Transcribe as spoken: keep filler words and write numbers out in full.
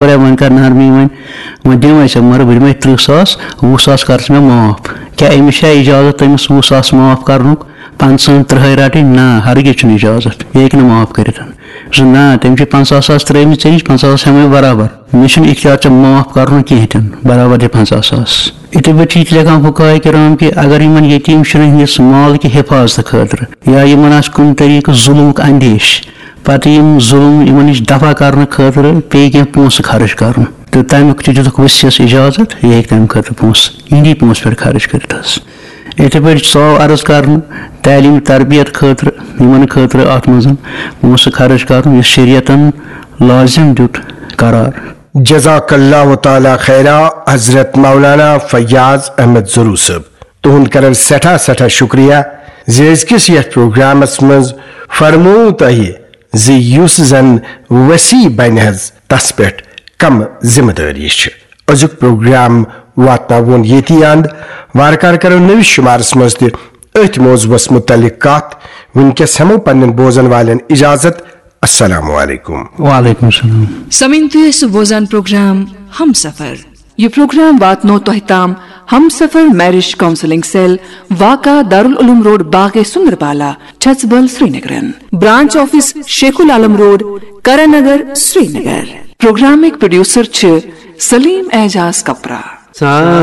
کوٚر وۄنۍ کر نرمی وۄنۍ، وۄنۍ دِمے ژےٚ، مگر بہٕ دِمے تٕرٛہ ساس، وُہ ساس کر ژٕ مےٚ معاف۔ کیٛاہ أمِس چھا اجازت أمِس وُہ ساس معاف کرنُک، پنٛژاہن تٕرٛہے رٹٕنۍ؟ نہ، ہرگز چھُنہٕ اجازت، یہِ ہیٚکہِ نہٕ معاف کٔرِتھ۔ زِ نہ، تٔمۍ چھِ پنٛژاہ ساس ترٛٲومٕتۍ ژےٚ نِش، پنٛژاہ ساس ہٮ۪مے برابر، مےٚ چھُنہٕ اختیار ژےٚ معاف کرنُک کِہیٖنۍ تہِ نہٕ، برابر دِ پنٛژاہ ساس۔ یِتھے پٲٹھۍ چھِ یہِ تہِ لیکھان فقہاء کرام کہِ اگر یِمن یتیٖم شُرٮ۪ن ہٕنٛدِس مال کہِ حفاظتہٕ خٲطرٕ یا یِمن آسہِ کُنہِ طریٖقہٕ ظُلمُک اندیش، پتہٕ یِم ظُلم یِمن نِش دفع کرنہٕ خٲطرٕ پیٚیہِ کینٛہہ پونٛسہٕ خرٕچ کرُن، تہٕ تمیُک تہِ دِتُکھ ؤسیس اجازت، یہِ ہیٚکہِ تمہِ خٲطرٕ پونٛسہٕ یِہنٛدی پونٛسہٕ پٮ۪ٹھ خرٕچ کٔرِتھ حظ۔ یِتھے پٲٹھۍ ژاو عرض کرنہٕ تعلیٖم تربیت خٲطرٕ، یِمن خٲطرٕ اتھ منٛز پونٛسہٕ خرٕچ کرُن، یُس شریعتن لازم دیُت قرار۔ جزاک اللہ تعالیٰ خیرا حضرت مولانا فیاض احمد ضروٗ صٲب، تُہُنٛد کرن سٮ۪ٹھاہ سٮ۪ٹھاہ شُکریہ زِ أزکِس یتھ پروگرامس منٛز فرموو تۄہہِ زِ یُس زن وصی بنہِ حظ، تس پٮ۪ٹھ کم ذمہٕ دٲری چھِ۔ أزیُک پروگرام واتناوون ییٚتی اند۔ وارٕ کارٕ کرو نٔوِس شُمارس منٛز تہِ أتھۍ موضوعس مُتعلق کتھ۔ وٕنکیٚس ہٮ۪مو پننٮ۪ن بوزن والٮ۪ن اجازت۔ السلام علیکم۔ وعلیکم السلام۔ سمعین تُہۍ ٲسِو بوزان پروگرام ہم سفر۔ یہِ پروگرام واتنو تۄہہِ تام ہم سفر میرج کاؤنسلنگ سیل، واقع دارالعلوم روڈ، باغ سندربالا، چھژبل، سرینگرن۔ برانچ آفس شیخ العالم روڈ، کرن نگر، سرینگر۔ پروگرامٕکۍ پروڈیوسر چھِ سلیم اعجاز کپرا۔